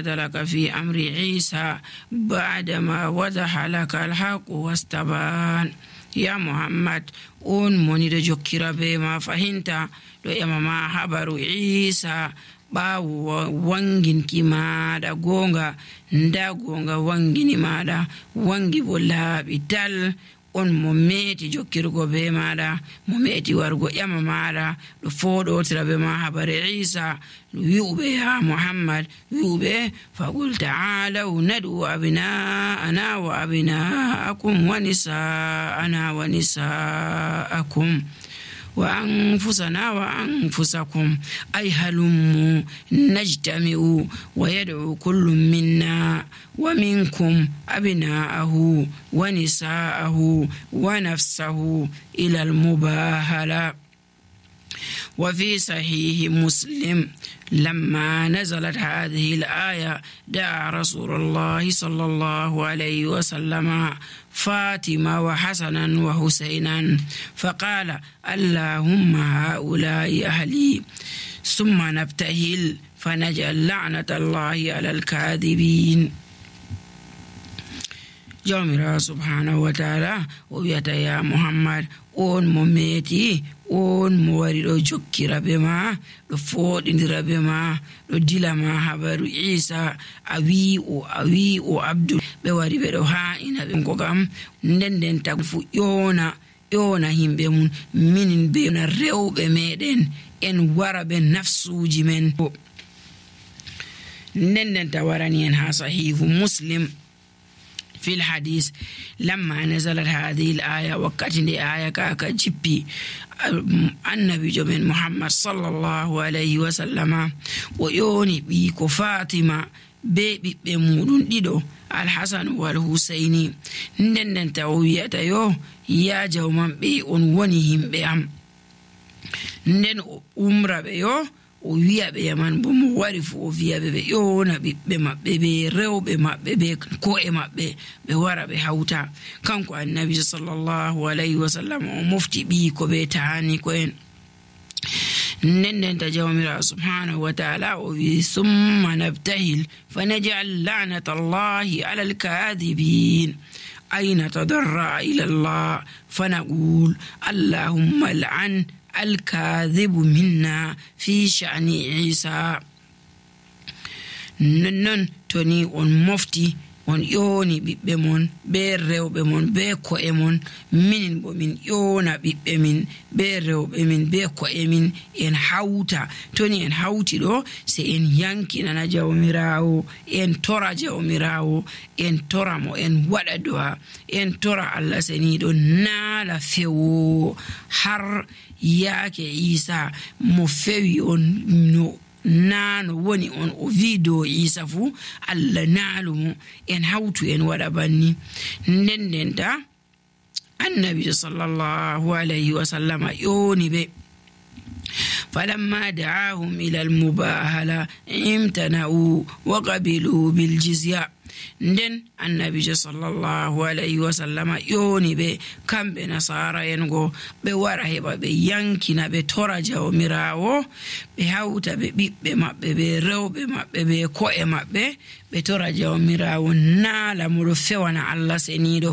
jadalaka fi amri Isa ba'dama wadaha laka alhaqu wastaban. Ya Muhammad, on moniɗo jokkira be ma fahinta ɗo emama habaru Isa ɓaawo wanginki maɗa gonga, nda gonga wangini maɗa wangi bo laaɓi dal. On mo meeti jokkirgo be maɗa, mo meeti wargo ƴama maɗa ɗo foɗotira be ma habare Isa wi'uɓe ya Muhammad, wi'uɓe faqul ta'alaw nad'u abna'ana wa abna'akum wa nisa'ana wa nisa'akum wa anfusana wa anfusakum ay halummu najtami'u wa yad'u kullu minna wa minkum abna'ahu wa nisa'ahu wa nafsahu ila al-mubahala. وفي صحيح مسلم لما نزلت هذه الآية دعا رسول الله صلى الله عليه وسلم فاطمة وحسنا وحسينا فقال اللهم هؤلاء أهلي ثم نبتهل فنجعل لعنة الله على الكاذبين. جامرا سبحانه وتعالى ويتا يا محمد on mo meeti, on mo wari ɗo jokkira be ma, ɗo foɗindira be ma, ɗo dila ma habaru Isa a wi o Abdul. ɓe wari ɓe ɗo ha'ina ɓe ko kam nden tagu fu ƴona himɓe mum minin be na rewɓe meɗen en wara ɓe nafsuji men. nden ta warani en ha sahihu Muslim في الحديث لما نزلت هذه الآية وقت آية كاكا جبي النبي جمين محمد صلى الله عليه وسلم ويوني بيكو فاطمة بيبي بمودون ديدو الحسن والحسيني ندن تاوية يو يا جومان بي ونونيهم بيام ندن أمرا بيو o wi'aɓe yaman bo mo wari fu o wi'aɓe ɓe ƴona ɓiɓɓe maɓɓe ɓe rewɓe maɓɓe ɓe ko'e maɓɓe ɓe wara ɓe hawta. Kanko annabi sallallahu alayhi wa sallam o mofti ɓii ko ɓe tahani ko en. nden ta jawmira subhanahu wa ta'ala o wi summa nabtahil fanaj'al la'nata allahi ala alkadhibin ay natadarra ila allah fanaqul allahumma al'an الكاذب منا في شأن عيسى. نن توني on mofti on ƴoni ɓiɓɓe mon be rewɓe mon be ko'e mon, minin bo min ƴona ɓiɓɓe min be rewɓe min be ko'e min en hawta. toni en hawti ɗo se en yankinana jawmirawo, en tora jawmirawo, en tora mo, en waɗa du'a, en tora Allah seniɗo naala fewo har yaake Isa mo fewi on no naano woni on o wi dow Isa fu Allah naalu mo, en hawtu en waɗa banni. nden ta annabi sallallahu alayhi wa sallam ƴoni ɓe فلما دعاهم إلى المباهلة امتنعوا وقبلوا بالجزية. nden annabijo sallallahu alayhi wa sallama ƴoni ɓe kamɓe nasara en go ɓe wara heɓa ɓe yankina ɓe tora jawmirawo, ɓe hawta ɓe ɓiɓɓe maɓɓe ɓe rewɓe maɓɓe ɓe ko'e maɓɓe ɓe tora jawmirawo naala mo ɗo fewana Allah seniɗo